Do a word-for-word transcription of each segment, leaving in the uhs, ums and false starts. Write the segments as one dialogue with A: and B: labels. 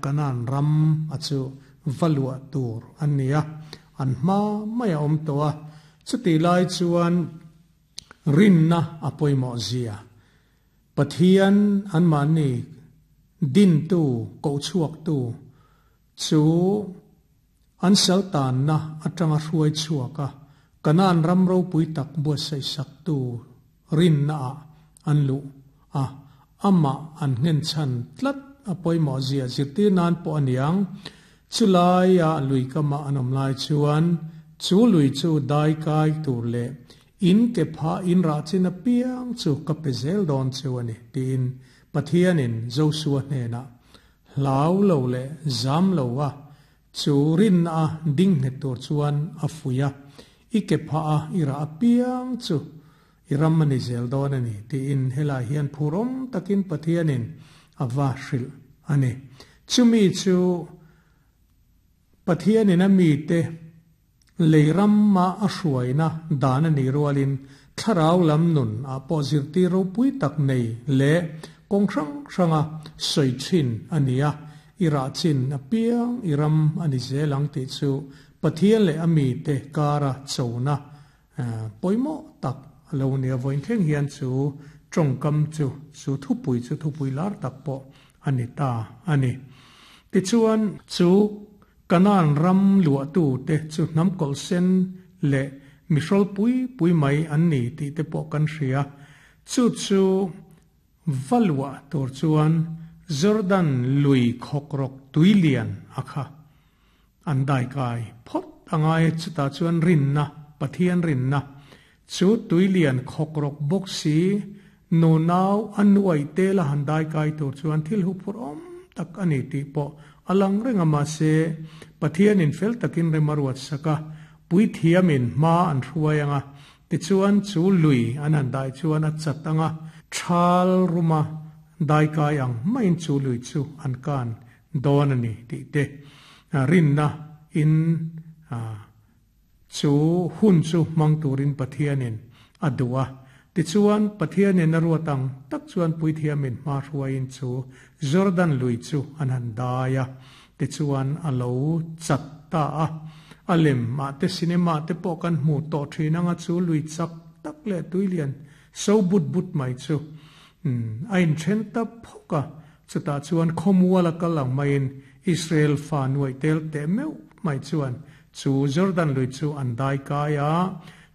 A: Kanan ram a chu valua tur an nia an ma maya om to a chuti lai chuan rinna apoimo zia Pathian an mani din tu ko chuak tu chu an saltan na atanga hruai chuaka kanan ram ro pui tak bo sei sak tu rinna an lu a ama an ngen chan tlat apoimo zia zirti nan po aniang chulai a lui kama anom lai chuan chu lui chu dai kai tur le in ke pha in ra chin a piang chu ka pezel don chu ani tin Pathianin Joshua hne na hlau lo le zam lo wa chu rin a ding he tur chuan a fuya i ke pha a ira piang chu iram mani zel don ani tin hela hian phurom takin Pathianin awa hril ani chumi chu Pathianin a mi te leiram ma a hruaina dan ani rualin thlarau lam nun a pawh zirtir ropui tak nei le kawng hrang hranga sawi thin ania ira chin a piang iram ani zelang ti chu Pathian le ami te kara chona poimo tak lo nia voin thleng hian chu tawngkam chu chu thupui chu thupui lar tak pawh ani ta ani ti chuan chu kanan ram lua tu te chu hnam kawlh sen le mihrol pui pui mai an ni ti te pawh kan hria chu chu valua tur chuan Jordan lui khawk rawk tuilian a kha an dai kai phawt angai chuta chuan rinna Pathian rinna chu tuilian khawk rawk bawk si nu nau an nuai te la han dai kai tur chuan thil hu phur awm tak ani tih pawh alang renga ma se Pathianin fel takin remaruat saka pui thiamin ma an hruai anga ti chuan chu lui an han dai chuan a chat anga thal ruma dai kai ang main chu lui chu an kan don ani ti te rinna in chu hun chu mang turin Pathianin adua ti chuan Pathianin a ruatang tak chuan pui thiamin ma hruaiin chu Jordan lui chu an han daia ti chuan alo chat ta a alem ma te cinema te pawh kan hmu tawh thin anga chu lui chak tak le tuilian so but but mai chu a in then ta phawka chuta chuan khawmual a kal ang maiin Israel fa nuai tel te meuh mai chuan chu Jordan lui chu an dai kai a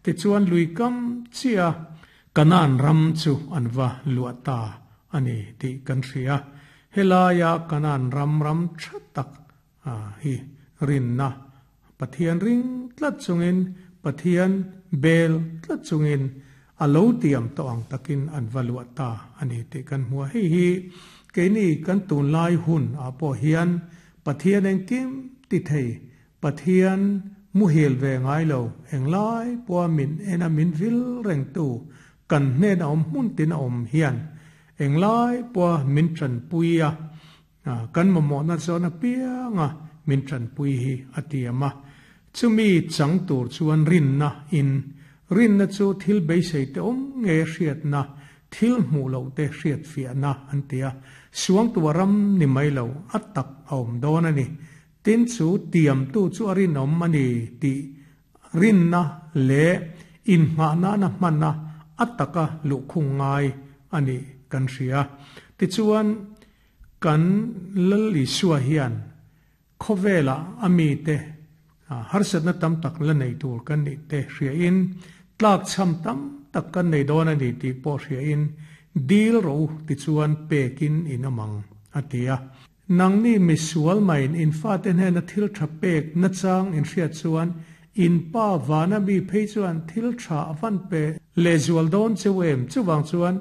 A: ti chuan lui kam chia kanan ram chu an va luata ani ti kan hria helaya kanan ram ram thatak a hi rinna Pathian ring tlat chungin Pathian bel tlat chungin alo tiam to ang takin an va luata ani ti kan hmua hei hi keini kan tun lai hun a pawh hian Pathian engkim ti thei Pathian muhil ve ngai lo englai pawh min ena min vil reng tu kan hnen a awm hmun tin a awm hian englai pawh min tran puia kan mamawh na zawn a pianga min tran pui hi a tiama chumi chang tur chuan rinna in rinna chu thil beisei te awm nge hriatna thil hmuh lo te hriat fiahna an tia suang tua ram ni mai lo a tak a awm dawn ani tin chu tiam tu chu a rinawm ani ti rinna le in hmahna na hmanna a taka luhkhung ngai ani kan hria ti chuan kan lal Isua hian khawvela ami te harsatna tam tak la nei tur kan ni te hria in tlak cham tam tak kan nei dawn ani ti pawh hria in dil ro ti chuan pekin in amang atia nangni misual main in fa te hnen a thil tha pek na chang in hriat chuan in pa vana mi phei chuan thil tha avan pe le zual dawn chewem chuwang chuan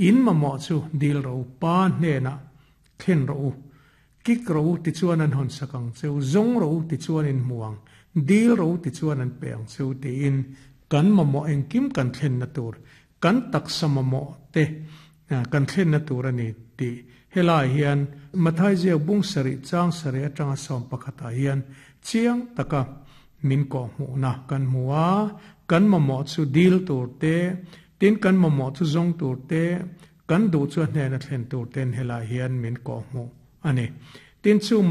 A: in mamawh chu dil ro pa hnena thlen ro kik ro ti chuan an hon sakang cheu zong ro ti chuan in muang dil ro ti chuan an peang cheu ti in kan mamawh engkim kan thlen na tur kan taksa mamawh te kan thlen na tur ani ti helai hian Mathai ziak bung sari chang sari atanga sawm pakhata hian chiang taka min ko hmuhna kan hmua kan mamawh chu dil tur te tin kan mamawh chu zong tur te kan du chu hnena thlen tur ten helai hian min ko hmu ani Tin, chu